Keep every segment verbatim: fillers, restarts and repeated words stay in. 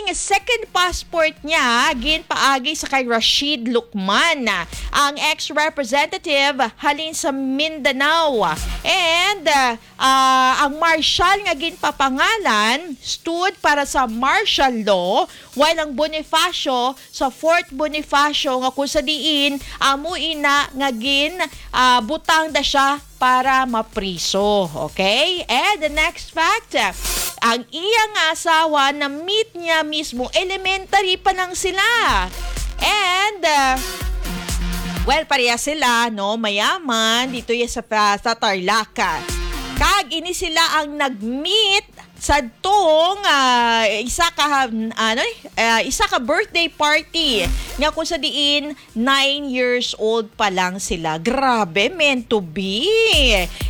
Second passport niya ginpaagi sa kay Rashid Lucman, ang ex-representative halin sa Mindanao. And, ah, ah, ang Marshall nga ginpapangalan stood para sa martial law, while ang Bonifacio sa Fort Bonifacio, nga kung sa diin amo ina nga gin, ah, butang da siya para mapriso. Okay? And the next fact, ang iya nga asawa na-meet niya mismo, elementary pa lang sila. And, uh, well, pareha sila, no? Mayaman, dito ya sa, sa Tarlac. Kag ini sila ang nag-meet sa tong, ah, isa ka, ano, eh, ah, isa ka birthday party nga kung sa diin nine years old pa lang sila. Grabe, meant to be.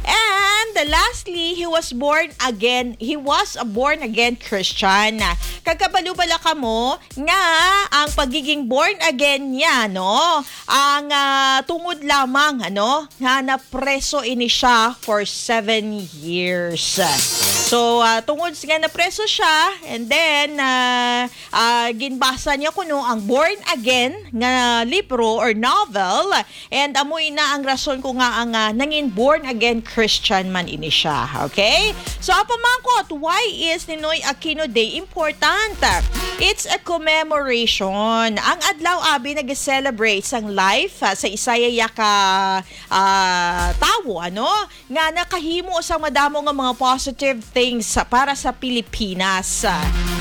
And lastly, he was born again. He was a born again Christian. Kagkabalo bala kamo nga ang pagiging born again niya, no? Ang, ah, tungod lamang, ano, nga napreso ini siya for seven years. So, ah, tungod nga napreso siya, and then, ah, ah, ginbasa niya kuno ang Born Again nga libro or novel, and amoy na ang rason ko nga ang, ah, nangin born again Christian man ini siya. Okay? So, ang pamangkot, why is Ninoy Aquino Day important? It's a commemoration. Ang adlaw abi nag-celebrate sang life, ah, sa isaya ka, ah, tawo, ano, nga nakahimo sang madamo nga mga positive things sa, para sa Pilipinas.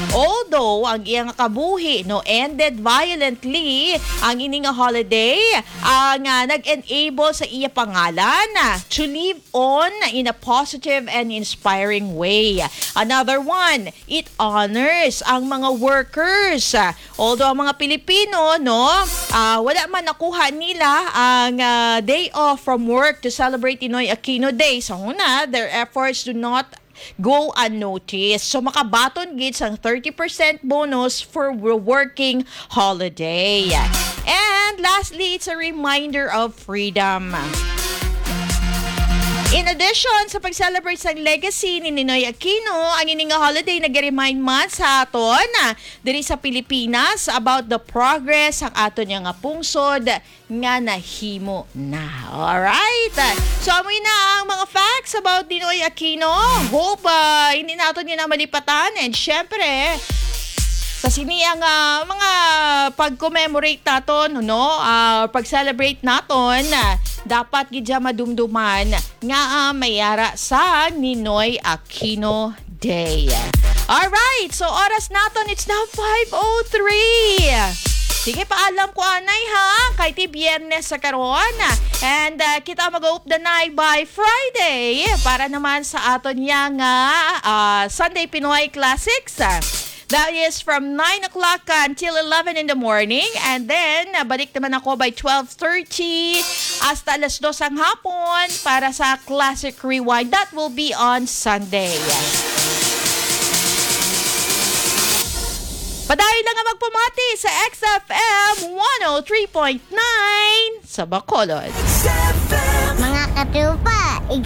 Although ang iya nga kabuhi, no, ended violently, ang ini nga holiday, ah, nga nag-enable sa iya pangalan, ah, to live on in a positive and inspiring way. Another one, it honors ang mga workers. Although ang mga Pilipino, no, ah, wala man nakuha nila ang, ah, day off from work to celebrate Ninoy Aquino Day. Sa una, their efforts do not go unnoticed. So, makabaton gid sang thirty percent bonus for wo-, working holiday. And lastly, it's a reminder of freedom. In addition sa pag-celebrate sang legacy ni Ninoy Aquino, ang ini nga holiday nag-remind man sa aton, ah, diri sa Pilipinas about the progress sang aton nga pungsod nga nahimo na. Alright? So, amoy na ang mga facts about Ninoy Aquino. Hope, ah, hindi naton yun na malipatan. And syempre, sa sini ang, ah, mga pag-commemorate naton, no? Ah, pag-celebrate naton, ah, dapat gid siya madumduman nga, ah, may ara sa Ninoy Aquino Day. Alright, so oras naton, it's now five oh three. Sige, paalam ko anay ha, kay ti Biyernes sa karon. And, uh, kita mag-updanay by Friday para naman sa aton niya nga, uh, Sunday Pinoy Classics. That is from nine o'clock until eleven in the morning. And then, uh, balik naman ako by twelve thirty hasta alas dos ang hapon para sa Classic Rewind. That will be on Sunday. Padayon lang nga magpamati sa X F M one oh three point nine sa Bacolod. Mga katupa,